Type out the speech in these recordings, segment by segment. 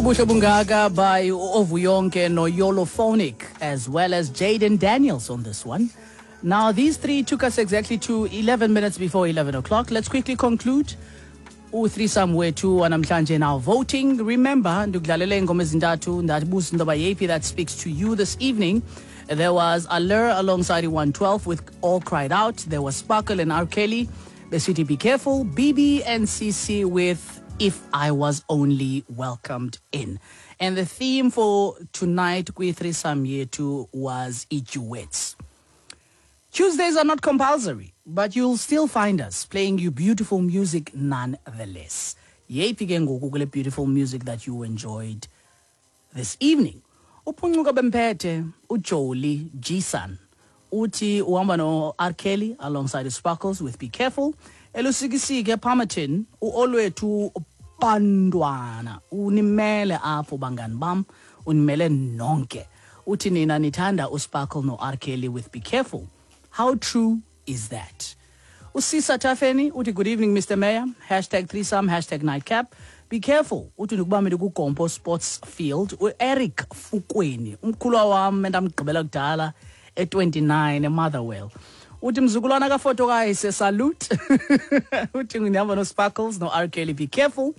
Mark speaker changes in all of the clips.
Speaker 1: Ubuhle Bungaka by Ovuyonke Noyolophonic, as well as Jaden Daniels on this one. Now, these three took us exactly to 11 minutes before 11 o'clock. Let's quickly conclude. U-threesome wethu wanamhlanje now voting. Remember, ndikudlalele iingoma ezintathu ndabuza into yoba yeyiphi that speaks to you this evening. There was Allure alongside 112 with All Cried Out. There was Sparkle and R. Kelly, besithi Be Careful. BB and CC with If I Was Only Welcomed In. And the theme for tonight kwi-threesome yethu was i-duets. Tuesdays are not compulsory, but you'll still find us playing you beautiful music nonetheless. Yeyiphi ke ngoku kule beautiful music that you enjoyed this evening? Uphuncuka bemphethe uJolie Gson uthi uhamba no-R Kelly alongside Sparkles with Be Careful. Elusikisike Palmerton uOlwethu Bantwana unimele apho bangani bam, unimele nonke. Uthi nina nithanda uSparkle no-R Kelly with Be Careful. How true is that? Usisa Tafeni uthi good evening Mr. Mayor, hashtag threesome, hashtag nightcap. Be careful uthi ndikubambile kuGompo Sports Field. UEric Fukweni umkhulwa wam endamgqibela kudala e-29 eMotherwell uthi mzukulwana kafoto kayise salute. Uthi ndihamba no-Sparkles no-R Kelly, be careful.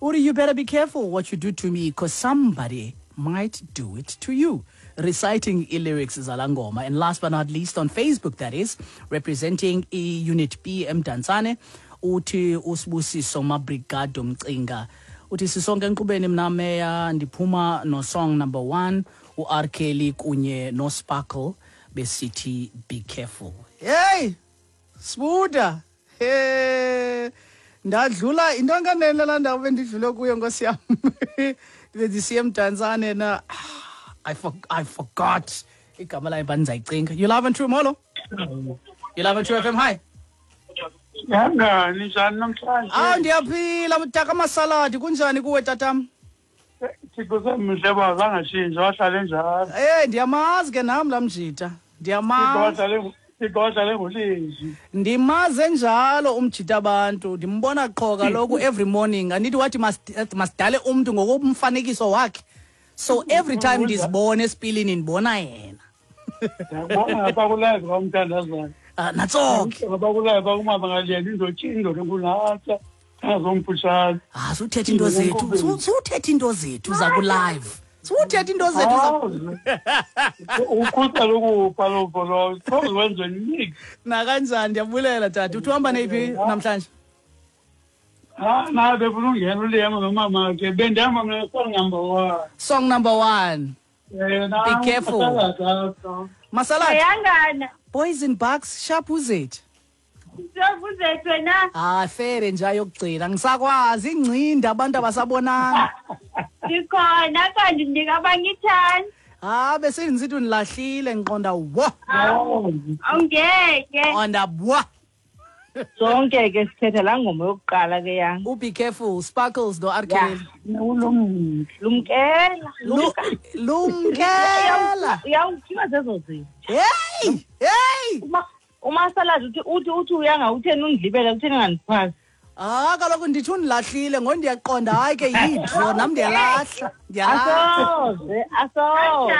Speaker 1: Uthi you better be careful what you do to me because somebody might do it to you, reciting i-lyrics zala ngoma. And last but not least, on Facebook, that is representing i-Unit B eMdantsane, uthi uSibusiso Mabrigado Mcinga uthi sisonke enkqubeni, mna meya ndiphuma no-song number 1, u-R Kelly kunye no-Sparkle besithi Be Careful. Hey Sbuda, he ndadlula into nkanene laa ndawo bendidlule kuyo, nkosi yam, bendisiya eMdantsane na I forgot igama layo, but ndizayicinga. You live and true, molo. You live and True FM, hi.
Speaker 2: Yangani, njani namhlanje?
Speaker 1: Ah, ndiyaphila mtaka masaladi, kunjani kuwe tatam?
Speaker 2: Thixo semhle ba zangashintsha, wahlale njalo.
Speaker 1: Eh, ndiyamazi ke nam laa mjita, ndiyamazi.
Speaker 2: Thixo wahlale ngolizwi.
Speaker 1: Ndimaze njalo umjita abantu, ndimbona qho kaloku every morning. Andithi wathi masidale umntu ngokomfanekiso wakhe, so every time ndizibona esipilini ndibona yena.
Speaker 2: Ndiyakubona ngapha kulive kwamthandazana.
Speaker 1: Ah, natso ke.
Speaker 2: Ngapha kulive kwakumama ngaliyena indoda enkunatsa azomfutshane.
Speaker 1: Ah, suthetha into zethu, suthetha into zethu zaku-live, suthetha into zethu.
Speaker 2: Ukhusela ukufa lovo lowo soze wenze nix.
Speaker 1: Nakanjani, ndiyabulela tata. Uthi uhamba neyiphi namhlanje?
Speaker 2: Ah, na befuna ungena uliyema nomama ke, bendihamba mna song number 1.
Speaker 1: Song number 1.
Speaker 2: Eh.
Speaker 1: Be careful. Masalad.
Speaker 3: Yangana.
Speaker 1: Boys in Bucks, sharp uzethu.
Speaker 3: Uzethu wena.
Speaker 1: Ah, fere nje ayokugcina ngisakwazi ingcinda abantu abasabonanga.
Speaker 3: Ndikhona kanti ndinika abanye ithani.
Speaker 1: Ah, bese ngisithi unilahlile, ngiqonda wo.
Speaker 3: Awungeke.
Speaker 1: Qonda bwa.
Speaker 4: Sonke ke sithetha laa ngoma yokuqala ke yang.
Speaker 1: Be careful, Sparkles no R Kelly.
Speaker 4: Lumkela.
Speaker 1: Lumkela.
Speaker 4: Uyawuthiwa zezo zinto.
Speaker 1: Hey, hey.
Speaker 4: Umasaladi uthi uyanga utheni undilibele, utheni ungandiphasi.
Speaker 1: Ah, kaloku ndithi undilahlile ngo ndiyaqonda hayi ke yidro nam ndiyalahla. Ndiyalahla.
Speaker 4: Asoze, asoze.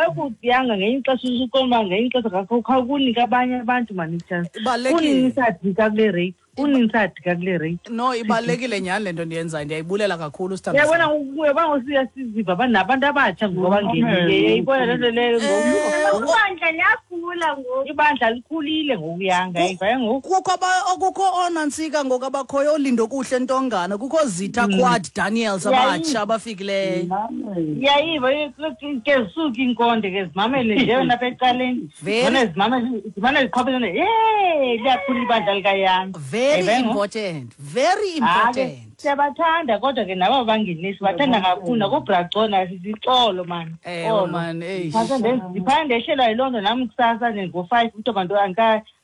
Speaker 4: Ekudiyanga ngenye ixesha usuqonda ngenye ixesha khawukunika abanye abantu mani itshansi.
Speaker 1: Ibalulekile.
Speaker 4: Kunini sadika kule rate? Kunini sadika kule rate?
Speaker 1: No, ibalulekile nyhani le nto ndiyenzayo, ndiyayibulela kakhulu sithandwa.
Speaker 4: Uyabona uyabona ngosiya siziva abantu nabantu abatsha ngoku abangenile. Uyayibona le nto leyo ngoku.
Speaker 3: Ibandla liyakhula ngoku.
Speaker 4: Ibandla likhulile ngokuyanga, ayiva ngoku.
Speaker 1: Kukho kukho oonantsika ngoku abakhoyo, oLindokuhle Ntongana, kukho Zita Quad Daniels abatsha abafikileyo.
Speaker 4: Uyayiva ke zisuke iinkonde ke zimamele nje wena apha ecaleni.
Speaker 1: Very
Speaker 4: Zimane zimamele zimane ziqhwabelene. Hey, liyakhula ibandla likayanga.
Speaker 1: Very
Speaker 4: Ayiva ngoku?
Speaker 1: important. Very
Speaker 4: Hayi,
Speaker 1: important.
Speaker 4: siyabathanda kodwa ke nabo abangenisi bathanda kakhulu nakobracona sisixolo mani.
Speaker 1: Ewe
Speaker 4: Xolo.
Speaker 1: man, eish.
Speaker 4: Ndiphande ndehlelwa yiloo nto nam kusasa nje ngo-5 kuthiwa bantu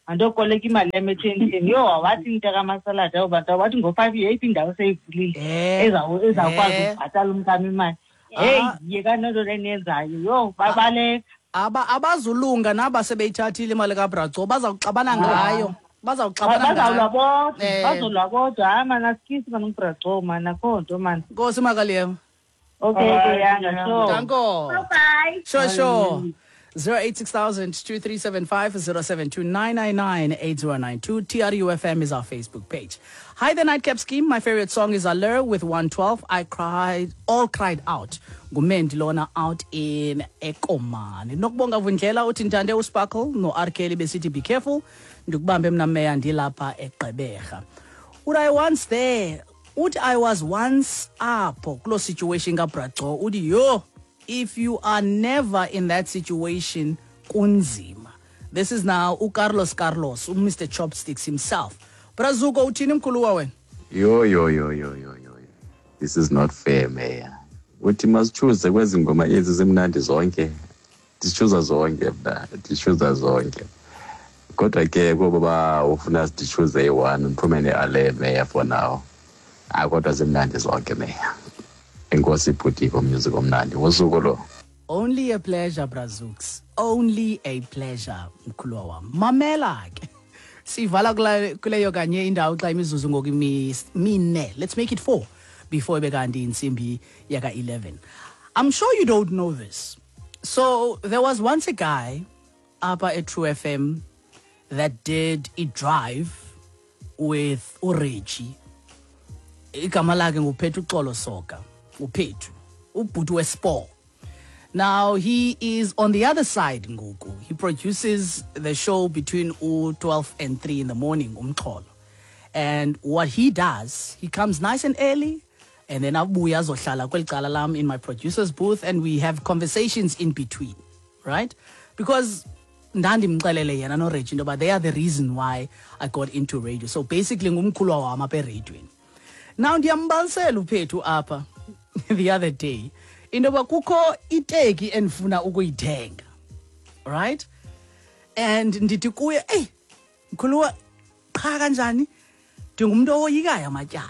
Speaker 4: andiyokoleka imali yam ethenteni. Yho, wathi into kamasaladi abo bantu wathi ngo-5 yeyiphi indawo seyivulile ezawukwazi ukubhatala umntana imali. Heyi, yekani loo nto le niyenzayo. Yho, babaleka.
Speaker 1: Abazulunga naba sebeyithathile imali kaBraco, bazawuxabana ngayo. Bazawuxabana
Speaker 4: Bazawulwa
Speaker 1: ngayo.
Speaker 4: bodwa, bazolwa bodwa. Hayi mani, asikisi mani uBraco mani, akho nto mani.
Speaker 1: Nkosi Makaliyema.
Speaker 4: Okay,
Speaker 2: Bye,
Speaker 4: Yanga,
Speaker 2: yeah.
Speaker 4: sure.
Speaker 1: Danko.
Speaker 3: Bye bye.
Speaker 1: Sure. 086 2375 072 999 8092. TRUFM is our Facebook page. Hi, the Nightcap Scheme. My favorite song is Allure with 112. I cried, all cried out. Ngumendi lona out in Ekomani. Nokubonga Vundlela uthi ntande uSparkle no R Kelly besithi be careful. Ndikubambe mna meya ndilapha eGqeberha. Uthi I once there. Uthi I was once apho kuloo situation kaBraco. Uthi yho, if you are never in that situation, kunzima. This is now uCarlos Carlos, uMr Chopsticks himself. Brazuko uthini mkhuluwa wena?
Speaker 5: Yo yo yo yo yo yo. This is not fair, Mayor. Uthi masichoose kwezi ngoma ezi zimnandi zonke. Ndichuza zonke mna, ndichuza zonke. Kodwa ke kuba ba ufuna sichoose eyi-one ndiphume ne-ale Mayor for now. Ah kodwa zimnandi zonke Mayor. Enkosi bhuti music omnandi. Wosuku lo.
Speaker 1: Only a pleasure, Brazooks. Only a pleasure, mkhuluwa wam. Mamela ke. Sivala kuleyo kanye indawo xa imizuzu ngoku mine. Let's make it 4 before ibe kanti intsimbi yaka 11. I'm sure you don't know this. So there was once a guy apha at True FM that did a drive with uReggie. Igama lakhe nguPhethu Xolo Soka. uPhethu, ubhuti wesport. Now he is on the other side ngoku. He produces the show between 12 and 3 in the morning, umxholo. And what he does, he comes nice and early and then abuya azohlala kweli cala lam in my producer's booth and we have conversations in between, right? Because ndandimxelele yena noReggie into yoba they are the reason why I got into radio. So basically ngumkhulwa wam apha eradiweni. Now ndiyambalisela uPhethu apha the other day into yoba kukho iteki endifuna ukuyithenga, right? And ndithi kuye, eyi mkhuluwa, qha kanjani, ndingumntu owoyikayo amatyala.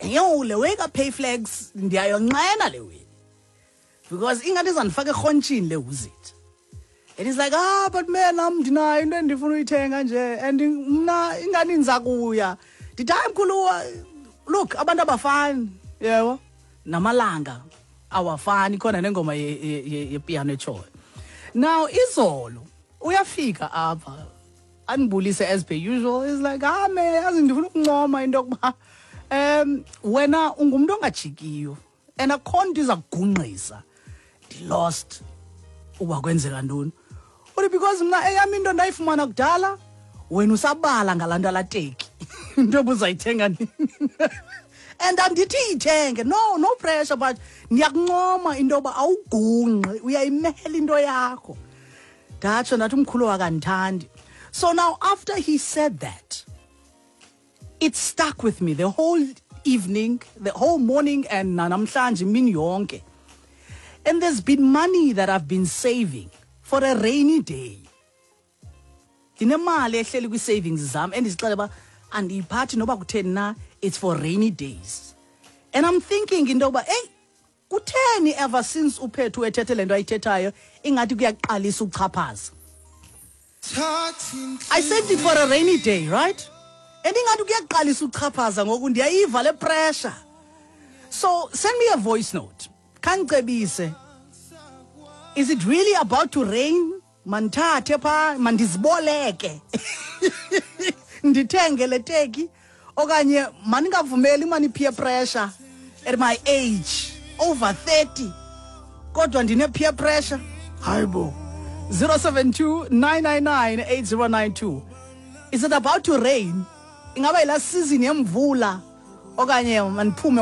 Speaker 1: Yo, le way kaPayflex ndiyayonqena le way because ingathi izandifaka erhontshini le uzit. And he's like, ah, but man, nam ndinayo into endifuna uyithenga nje and mna ingani ndiza kuya. Ndithi hayi mkhuluwa, look, abantu abafani, yebo, namalanga awafani, khona nengoma yepiano etshoyo. Now izolo uyafika apha andibulise as per usual. He's like, ah man, yazi ndifuna ukuncoma into yokuba wena ungumntu ongajikiyo and akho nto iza kugungqisa. Ndi-lost uba kwenzeka ntoni. Uthi because mna eyam into ndayifumana kudala, wena usabala ngalaa nto alateki into obuzayithenga nini. And andithi iyithenge, no pressure, but ndiyakuncoma into yoba awugungqi, uyayimela into yakho. Ndatsho ndathi umkhulu wakandithandi. So now after he said that, it stuck with me the whole evening, the whole morning, and namhlanje imini yonke. And there's been money that I've been saving for a rainy day. Ndinemali ehleli kwi-savings zam endizixele uba andiyiphathi noba kutheni na, it's for rainy days. And I'm thinking into yoba, hey, kutheni ever since uPhethu ethethe le nto ayithethayo ingathi kuyaqalisa ukuchaphaza. I saved it for a rainy day, right? And ingathi kuyaqalisa ukuchaphaza ngoku ndiyayiva le pressure. So send me a voice note. Khandicebise. Is it really about to rain? Mandithathe phaa, mandiziboleke. Ndithenge le teki okanye mandingavumeli mani peer pressure at my age, over 30. Kodwa ndine peer pressure. Hayibo. 072 999 8092. Is it about to rain? Ingaba yilaa season yemvula okanye mandiphume